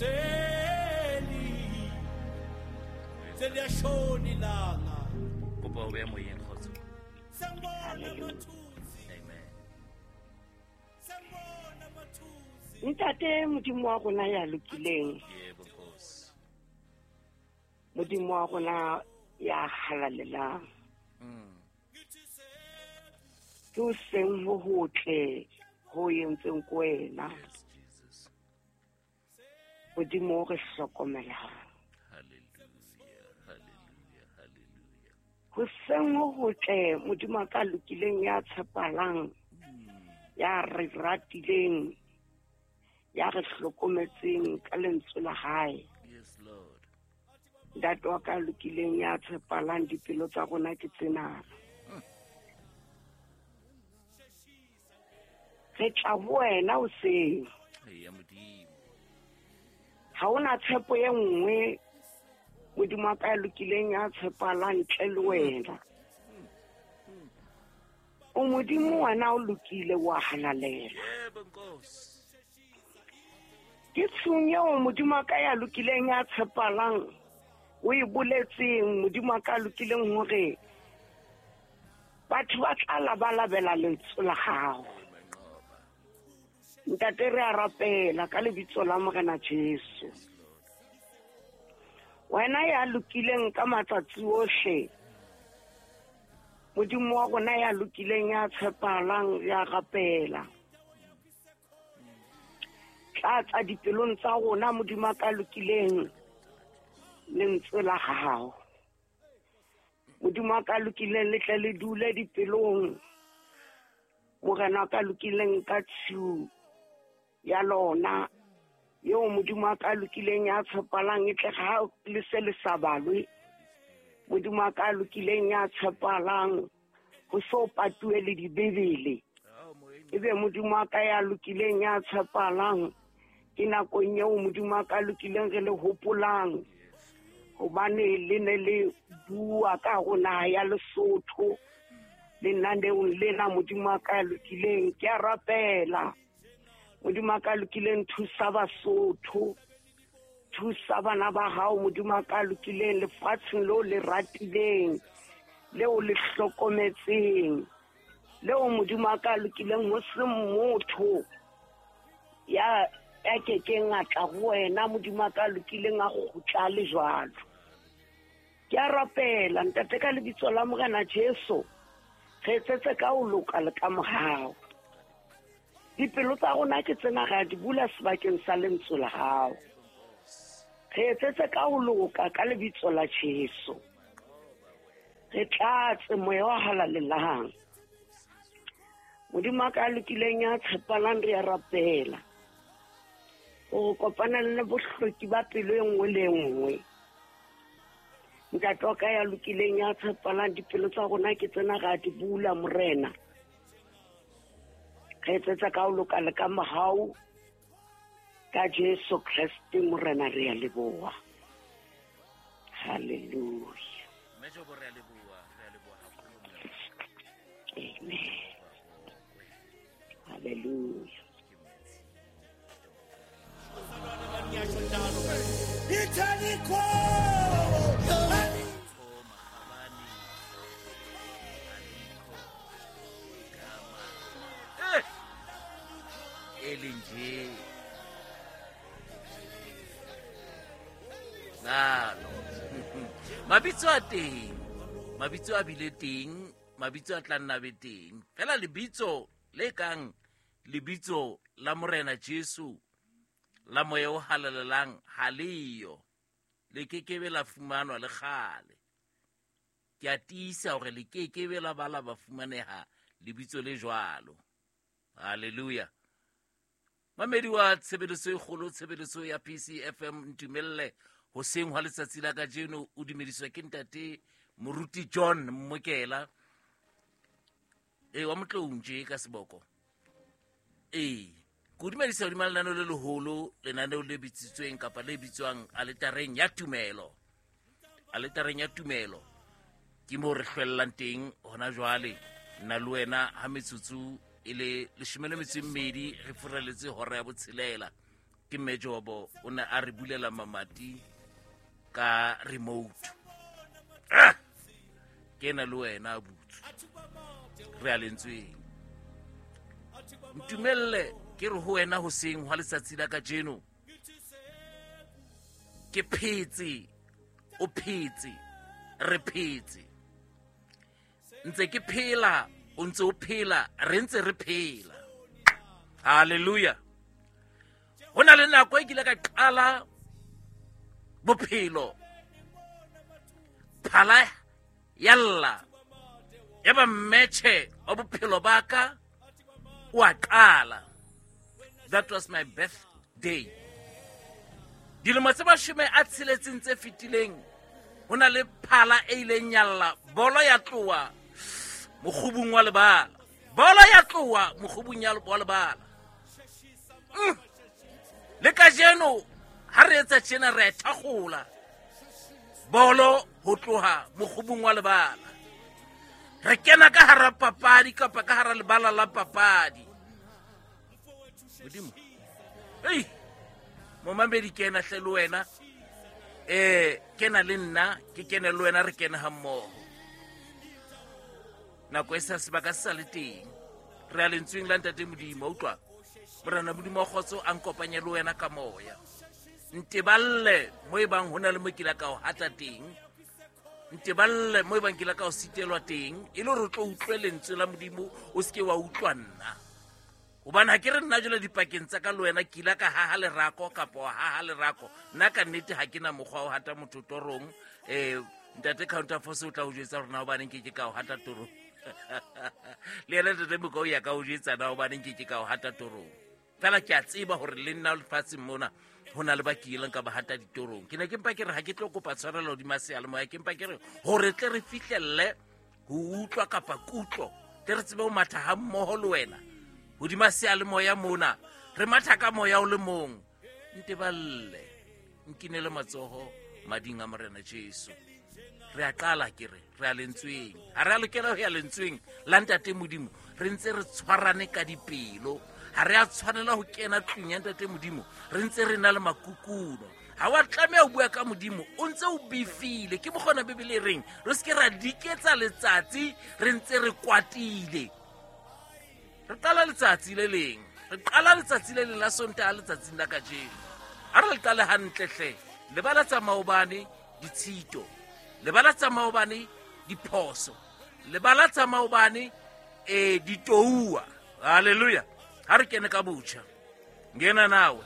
Seli seliyashona ilanga. Kopa o beya moyeng, kgotso. Sengibona Hallelujah. amathunzi. Amen. Sengibona amathunzi. Ntate Modimo wa rona ya lokileng, Yebo Nkosi. Modimo wa rona ya halalelang, ke o seng ho hotle ho entseng ko wena. Yes, Jesus. Modimo o re hlokomelang. Hallelujah, hallelujah, hallelujah. Ho seng ho hotle Modimo a ka lokileng ya tshepalang, ya re ratileng, ya re hlokometseng ka lentswe la hae. Yes, Lord. Ntate wa ka lokileng ya tshepalang, dipelo tsa rona ke tsena. Re tla ho wena hoseng. Eya Modimo. Ha hona tshepo e nngwe Modimo wa ka ya lokileng ya tshepalang ntle le wena. O Modimo wena o lokile, wa halalela. Yebo Nkosi. Ke tshung eo Modimo wa ka ya lokileng ya tshepalang o e boletseng Modimo wa ka ya lokileng hore batho ba tla labalabela lentswe la gago. Manqoba. Ntate re a rapela ka lebitso la Morena Jesu. Wena ya lokileng ka matsatsi ohle, Modimo wa rona ya lokileng ya tshepahalang, ya rapela. Tlatsa dipelong tsa rona Modimo wa ka lokileng lentswe la gago. Modimo wa ka lokileng le tle le dule dipelong. Morena wa ka lokileng ka tshiu ya lona eo Modimo wa ka lokileng ya tshepalang e tle ha le se le sa balwe. Modimo wa ka lokileng ya tshepalang ho so patuwe le dibebele. Ao moyeng. Ebe Modimo wa ka ya lokileng ya tshepalang ke nakong eo Modimo wa ka lokileng re le hopolang, hobane le ne le bua ka ho naha ya Lesotho lenaneong lena. Modimo wa ka ya lokileng, ke a rapela Modimo wa ka lokileng, thusa Basotho, thusa bana ba hao Modimo wa ka lokileng lefatsheng leo le ratileng, leo le hlokometseng, leo Modimo wa ka lokileng ho se motho ya kekeng a tla ho wena Modimo wa ka lokileng a kgutla le jwalo. Ke a rapela ntate ka lebitso la Morena Jesu, re etsetse ka ho loka le ka mohau. Dipelo tsa rona ke tsena re a di bula sebakeng sa lentswe la hao. Re etsetse ka ho loka ka lebitso la Jesu. Re tlatse moya wa halalelang. Modimo wa ka lokileng ya tshepalang re a rapela hore kopana le bohloki ba pelo e nngwe le e nngwe. Ntate wa ka ya lokileng ya tshepalang, dipelo tsa rona ke tsena re a di bula Morena. Re etsetsa ka ho loka le ka mohau ka Jesu Kreste Morena re a leboha. Hallelujah. Mme Jobo re a leboha, re a leboha haholo mme. Amen. Hallelujah. Ngiyasho njalo. Ithalikho. Alikho makgabane, alikho igama elinje nalo. Mabitso a teng, mabitso a bile teng, mabitso a tla nna be teng fela. Lebitso le kang lebitso la Morena Jesu la moya o halalelang ha leyo, le kekebe la fumanwa le kgale. Ke a tiisa hore le kekebe la ba la ba fumaneha lebitso le jwalo. Hallelujah. Mamedi wa tshebeletso e kgolo, tshebeletso ya PCFM, ntumelle hoseng hwa letsatsi la kajeno o dumediswa ke ntate Moruti John Mmokela e wa Motloung tje ka seboko. Ee, ke o dumedisa hodima lenaneo le leholo, lenaneo le bitsitsweng kapa le bitswang aletareng ya tumelo. Aletareng ya tumelo ke moo re hlwellang teng hona jwale, nna le wena, ha metsotso e le 12 re furaletse hora ya 6. Ke Mejobo o ne a re bulela mamati ka remote. Ah! Ke ena le wena a butsu. Re a lentsweng. Ntumelle ke re ho wena hoseng hwa letsatsi la kajeno. Ke phetse, o phetse, re phetse. Ntse ke phela, o ntse o phela, re ntse re phela. Hallelujah. Ho na le nako e kile ka qala bophelo. Phala yalla. Ya ba mmetjhe wa bophelo ba ka o a qala. That was my birthday. Dilemo tse 60 tse fetileng ho na le phala e ileng ya lla, bolo ya tloha mokgubung wa lebala. Bolo ya tloha mokgubung wa lebala. Le kajeno ha re etsa tjena re a thakgola bolo ho tloha mokgubung wa lebala. Re kena ka hara papadi kapa ka hara lebala la papadi. Modimo. Ei, momamedi kena hle le wena. Kena le nna, ke kene le wena, re kene ha mmoho. Nako e sa sebaka se sa le teng. Re a lentsweng la Ntate Modimo, utlwa. Morena Modimo wa kgotso a nkopanye le wena ka moya. Nteballe mo e bang ho na le mo ke la ka o hata teng. Nteballe mo e bang ke la ka o sitelwa teng, e le hore o tlo utlwe lentswe la Modimo, o se ke wa utlwa nna. Hobane ha ke re nna jwale dipakeng tsa ka le wena ke ile ka haha lerako kapa wa haha lerako. Nna ka nnete ha ke na mokgwa wa ho hata motho torong. Ntate Counterforce o tla o jwetsa hore na hobaneng ke ke ka o hata torong. Le yena Ntate Moka o ya ka o jwetsa na hobaneng ke ke ka o hata torong. Fela ke a tseba hore le nna lefatsheng mona ho na le ba ke ileng ka ba hata ditorong. Ke ne ke mpa ke re ha ke tlo kopa tshwarelo hodima seyalemoya, ke mpa ke re hore tle re fihlelle ho utlwa kapa kutlo, tle re tsebe ho matha ha mmoho le wena hodima seyalemoya mona, re matha ka moya o le mong. Nteballe, nkinele matsoho mading a Morena Jesu. Re a qala ke re, re a lentsweng. Ha re a lokela ho ya lentsweng la Ntate Modimo, re ntse re tshwarane ka dipelo. Ha re a tshwanela ho kena tlung ya Ntate Modimo, re ntse re na le makukuno. Ha wa tlameha ho bua ka Modimo, o ntse o befile. Ke mokgona Bibele e reng, re se ke ra diketsa letsatsi re ntse re kwatile. Re qala letsatsi le leng, re qala letsatsi le leng la Sontaha letsatsing la kajeno. Ha re le qale hantle hle. Lebala tsa maobane ditshito, lebala tsa maobane diphoso, lebala tsa maobane ditouwa. Hallelujah. Ha re kene ka botjha. Ngena nawe.